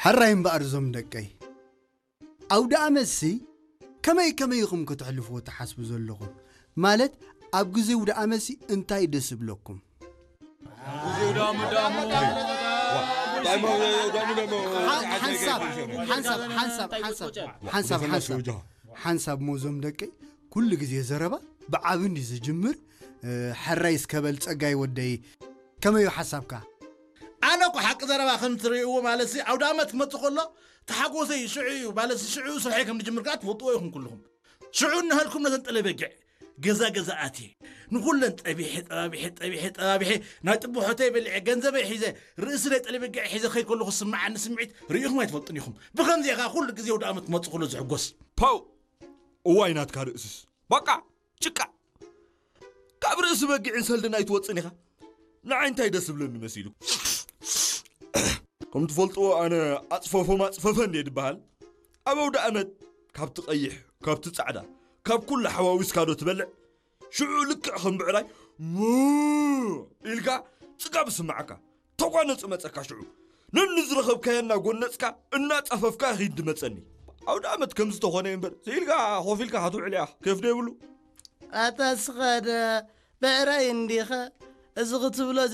ሕራይ እምበኣር እዞም ደቀይ፣ ኣውደ ኣመትሲ ከመይ ከመይ ኢኹም ከተሕልፍዎ ትሓስቡ ዘለኹም? ማለት ኣብ ግዜ ኣውደ ኣመትሲ እንታይ ደስ ይብለኩም? ሓንሳብ ሓንሳብ ሓንሳብ ሓንሳብ ሓንሳብ ሓንሳብ ሓንሳብ ሓንሳብ ሞዞም ደቀይ፣ ኩሉ ግዜ ዘረባ ብዓቢ እንዲ ዝጅምር። ሕራይ እስከበል ጸጋይ ወደይ፣ ከመዩ ሓሳብካ? ኣነ እኮ ሓቂ ዘረባ ከም ትርእይዎ ማለት ሲ ኣውደ ኣመት ክመጽእ ከሎ ተሓጎሰይ ሽዑ እዩ ማለት ሲ ሽዑ ስርሐይ ከም ዝጅምር ከዓ ትፈልጥዎ ኢኹም ኩልኹም። ሽዑ እናሃልኩም ነተን ጠለበጊዕ ገዛ ገዛ ኣትየ ንኹለን ጠቢሐ ጠባቢሐ ጠቢሐ ጠባቢሐ ናይ ጥቡሖተይ በሊዐ ገንዘበይ ሒዘ ርእሲ ናይ ጠለበጊዕ ሒዘ ከይ ከለኹ ዝስምዓኒ ስምዒት ርኢኹም ኣይትፈልጡን ኢኹም። ብኸምዚ ኢኻ ኩሉ ግዜ ኣውደ ኣመት ክመጽእ ከሎ ዝሕጎስ። ፓው! እዋይ ናትካ ርእስስ በቃ ጭቃ። ካብ ርእሲ በጊዕን ሰልድን ኣይትወፅን ኢኻ። ንዓይ እንታይ ደስ ዝብለኒ መሲሉ? ከም ትፈልጥዎ ኣነ ኣፅፈፎም ኣፅፈፈ እንደ ድበሃል ኣብ ኣውደ ኣመት ካብቲ ቀይሕ ካብቲ ፃዕዳ ካብ ኩሉ ሓዋዊስካ ዶ ትበልዕ? ሽዑ ልክዕ ከም ብዕራይ ሙ ኢልካ ፅጋብ ስማዓካ። ተጓነፁ መፀካ ሽዑ ነኒ ዝረኸብካዮ እናጎነፅካ እናፀፈፍካ ኺድ ድመፀኒ። ኣውደ ኣመት ከም ዝተኾነ እምበር ስኢልካ ኮፍ ኢልካ ክትውዕል እያ ኬፍ ዶ የብሉ። ኣታ ስኸደ ብዕራይ እንዲኸ እዚ ክትብሎ